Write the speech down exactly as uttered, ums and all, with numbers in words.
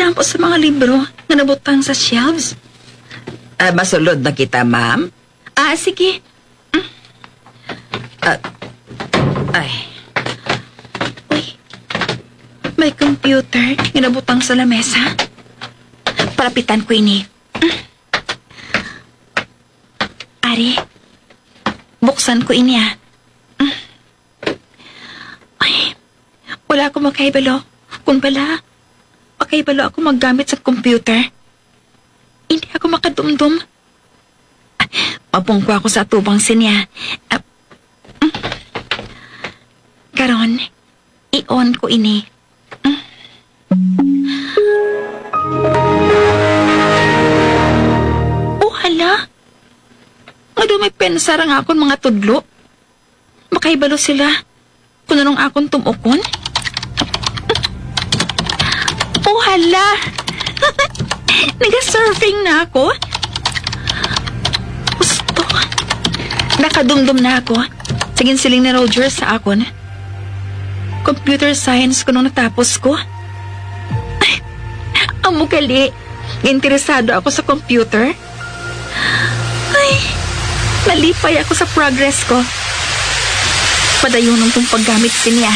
Ang sa mga libro nga nabutang sa shelves. Ah, masulod na kita, ma'am? Ah, sige. Mm. Ah, ay. Uy, may computer nga nabutang sa lamesa. Palapitan ko ini. Mm. Ari, buksan ko ini, ah. Mm. Ay, wala ako makahibalo. Kung bala, makahibalo ako maggamit sa computer. Hindi ako makadumdom. Mapungko ako sa atubang sinya. Ah, mm. Karon, i-on ko ini. Mm. Oh, hala. Nga daw may pensar ang akon mga tudlo. Makahibalo sila kung anong akon tumokon. Oh, hala! Naga-surfing na ako. Gusto. Nakadumdom na ako sa ginsiling ni Roger sa akon. Computer science ko nung natapos ko. Ay, amo gali, interesado ako sa computer. Ay, nalipay ako sa progress ko. Padayonon kong paggamit sinya.